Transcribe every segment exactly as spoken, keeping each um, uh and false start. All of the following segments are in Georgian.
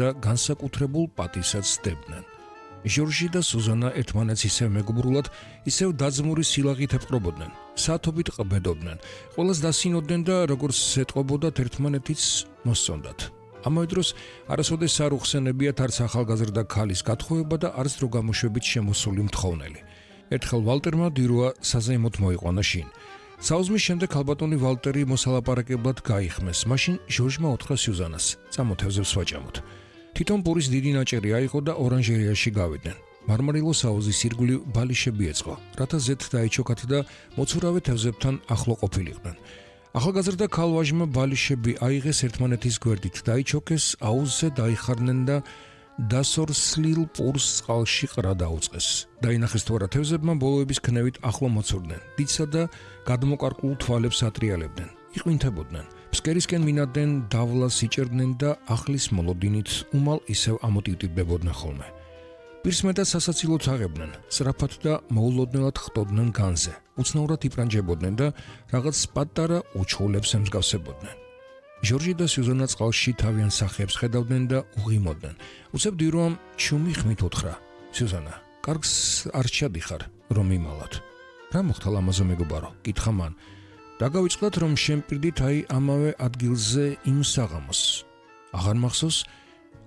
და განსაკუთრებულ პატისაც სდებდნენ. ჟორჟი და სუზანა ერთმანეთს ისევ მეგობრულად, ისევ დაძმური სილაღით ეპყრობოდნენ, საათობით ყბედობდნენ, ყველას დასინოდნენ და როგორც ეტყობოდათ ერთმანეთიც მოსწონდათ. ამავე დროს არასოდეს არ უხსენებიათ არც ახალგაზრდა ქალის გათხოვება და არც დრო გამოშვებით შემოსული მთხოვნელი. ერთხელ ვალტერმა დიროა საზეიმოდ მოიყვანა შინ. საუზმის შემდეგ ალბატონი ვალტერი მოსალაპარაკებლად გაიხმეს. მაშინ ჟორჟმა უთხრა სიუზანას, წამოთევზებს ვაჭამოთ. თვითონ პურის დიდი ნაჭერი აიღო და ორანჟერეაში გავიდნენ. მარმარილოს აუზის ირგვლივ ბალიშები ეწყო, რათა ზეთ დაიჩოქათ და მოცურავე თევზებთან ახლო ყოფილიყვნენ. ახალგაზრდა ქალვაჟმა ბალიშები აიღეს ერთმანეთის გვერდით, დაიჩოქეს, აუზზე დაიხარნენ და დასორსლილ პურს წყალში ყრა დაუწყეს. დაინახეს თუ არა თევზებმა ბოლოების ქნევით ახლო მოცურდნენ, დიცსა და გადმოკარკულ თვალებს ატრიალებდნენ, იყვინთებოდნენ. ფსკერისკენ მინადნენ, დავლას იჭერდნენ და ახლის მოლოდინით უმალ ისევ ამოტივტივდებოდნენ ხოლმე. პირს მეტად სასაცილოდ აღებდნენ, სწრაფად და მოულოდნელად ხტოდნენ განზე, უცნაურად იპრანჯებოდნენ და რაღაც პატარა უჩხულებს ემსგავსებოდნენ. ჟორჟი და სიუზანა წყალში თავიანთ სახეებს ხედავდნენ და უღიმოდნენ. უცებ დიროამ ჩუმი ხმით უთხრა: სიუზანა, კარგს არ ჩადიხარ, რომ იმალოთ. რა მოხდა ლამაზო მეგობარო? კითხა მან. დაგავიწყდათ, რომ შემპირდით აი ამავე ადგილზე იმ საღამოს. აღარ მახსოვს?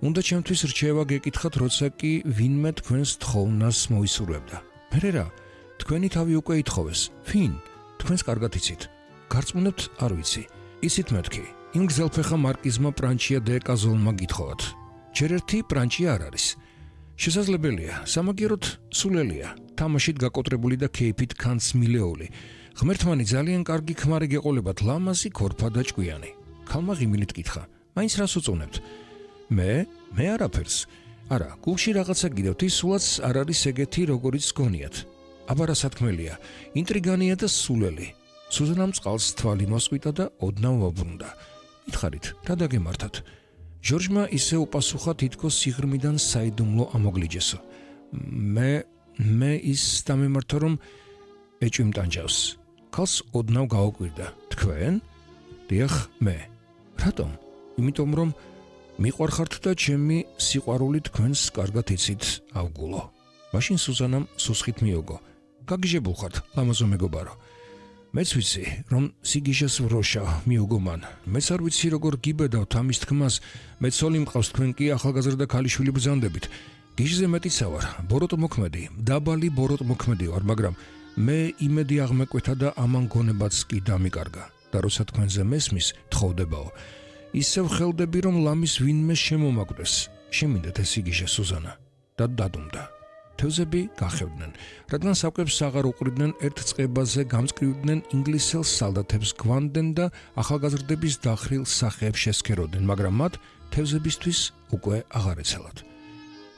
უნდა ჩემთვის რჩევა გეკითხათ, როცა კი ვინმე თქვენს თხოვნას მოისურვებდა. მერე რა? თქვენი თავი უკვე ითხოვეს. ვინ? თქვენს კარგად იცით. გარწმუნებთ, არ ვიცი. იცით მეთქი. იმ გზელფეხა მარკიზმა პრანჩია დე კაზოლმა გითხოვათ. ჯერ ერთი პრანჩია არ არის. შესაძლებელია, სამაგიეროდ სულელია, თამაშით გაკოტრებული და ქეიფით ქანს მილეული. ღმერთმანი ძალიან კარგი ქმარი გეყოლებათ, ლამაზი, ქორფა და ჭკვიანი. ქალმა ღიმილით კითხა: მაინც რას უწუნებთ? მე? მე არაფერს. არა, გულში რაღაცა გიდევთ, ის სულაც არ არის ეგეთი, როგორიც გონიათ. აბა რა სათქმელია, ინტრიგანია და სულელი. სუზანამ წყალს თვალი მოსყვიტა და ოდნავ ვაბრუნდა. მითხარით, რა დაგემართათ? ჟორჟმა ისე უპასუხა, თითქოს სიღრმიდან საიდუმლო ამოგლიჯესო. მე მე ის დამემართა, რომ ეჭვი მტანჯავს. ქალს ოდნავ გაუკვირდა. თქვენ? დიახ, მე. რატომ? იმიტომ რომ მიყვარხართ და ჩემი სიყვარული თქვენს კარგად იცით, ავგულო. მაშინ სუზანამ სუსხით მიოგო. გაგიჟებულ ხართ, ლამაზო მეგობარო. მეც ვიცი, რომ სიგიჟეს ვროშა მიოგო მან. მეც არ ვიცი, როგორ გიბედავთ ამის თქმას, მეც ოლი მყავს, თქვენ კი ახალგაზრდა ქალიშვილი ბრძანდებით. გიჟზე მეტიცა ვარ, ბოროტმოქმედი, დაბალი ბოროტმოქმედი ვარ, მაგრამ მე იმედი აღმეკვეთა და ამან გონებაც კი დამიკარგა. და როცა თქვენზე მესმის, თხოვდებაო. ისევ ხელდები, რომ ლამის ვინმე შემომაკვდეს. შემინდეთ ეს იგიჟე სუზანა. და დადუმდა. თევზები გახევდნენ, რადგან საკვებს აღარ უყრიდნენ, ერთ წყებაზე გამწკრივდნენ, ინგლისელ სალდათებს გვანდნენ და ახალგაზრდების დახრილ სახეებს შესქეროდნენ, მაგრამ მათ თევზებისთვის უკვე აღარ ეცალათ.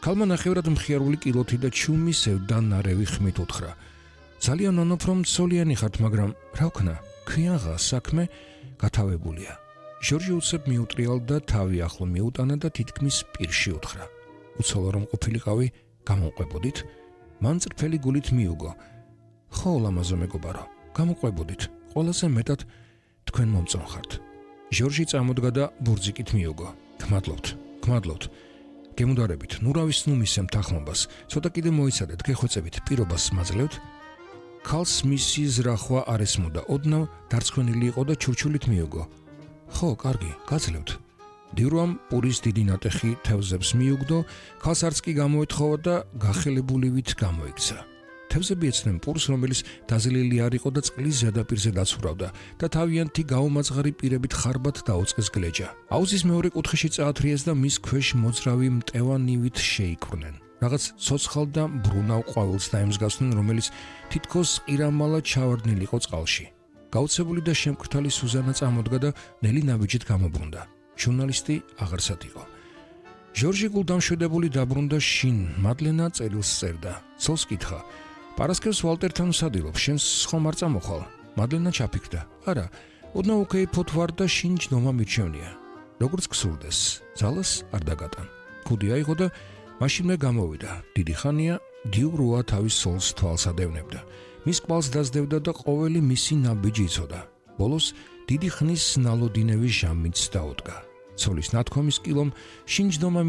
ქალმა ნახევრად მხიარული კილოთი და ჩუმი სევდა ნარევი ხმით უთხრა: ძალიან ნანობ, რომ ცოლიანი ხართ, მაგრამ რა ვქნა, ქვიანღა საქმე გათავებულია. ჟორჟი უცებ მიუტრიალდა, თავი ახლო მიუტანა და თითქმის პირში უთხრა: უცოლო რომ ყოფილიყავი, გამოყვებოდით? მან წრფელი გულით მიუგო. ხო, ლამაზო მეგობარო, გამოყვებოდით. ყველაზე მეტად თქვენ მომწონხართ. ჟორჟი წამოდგა და ბურძიკით მიუგო. გმადლობთ, გმადლობთ. გემუდარებით, ნურავის ნუ მისემთ ახმობას, ცოტა კიდე მოიცადეთ, გეხვეწებით, პირობას მაძლევთ? ქალს მისი ზრახვა არ ესმოდა, ოდნავ დარწმუნებული იყო და ჩურჩულით მიუგო. ხო, კარგი, გაძლევთ. დიროამ პურის დიდი ნატეხი თევზებს მიუგდო, ქალს არც კი გამოეთხოვა და გახელებულივით გამოიქცა. თევზები ეცნენ პურს, რომელიც დაზლილი არ იყო და წყლის ზედაპირზე დაცურავდა და თავიანთი გაუმაძღარი პირებით ხარბად დაუწყეს გლეჯა. აუზის მეორე კუთხეში წაათრიეს და მის ქვეშ მოძრავი მტევანივით შეიკვრნენ. რაღაც ცოცხალ და ბრუნავ ყვავილს დაემსგავსნენ, რომელიც თითქოს ყირამალა ჩავარდნილი იყო წყალში. გაუცებული და შემკრთალი სუზანა წამოდგა და ნელი ნაბიჯით გამობრუნდა. ჟურნალისტი აღარსად იყო. ჟორჟი გულდამშვიდებული დაბრუნდა შინ, მადლენა წერილს წერდა. ცოლს კითხა: პარასკევს ვალტერთან ვსადილობ, შენს ხომ არ წამოხვალ? მადლენა ჩაფიქრდა: არა, ოდნავ უკეიფოთ ვარ და შინ ჯდომა მირჩევნია. როგორც გსურდეს, ძალას არ დაგატან. ქუდი აიღო და მაშინვე გამოვიდა. დიდი ხანია დიუროა თავის სოლს თვალს ადევნებდა. მის კვალს დასდევდა და ყოველი მისი ნაბიჯი იცოდა. ბოლოს დიდი ხნის ნალოდინევის ჟამიც დაუდგა. ცოლის ნათქვამის კილომ შინჯდომა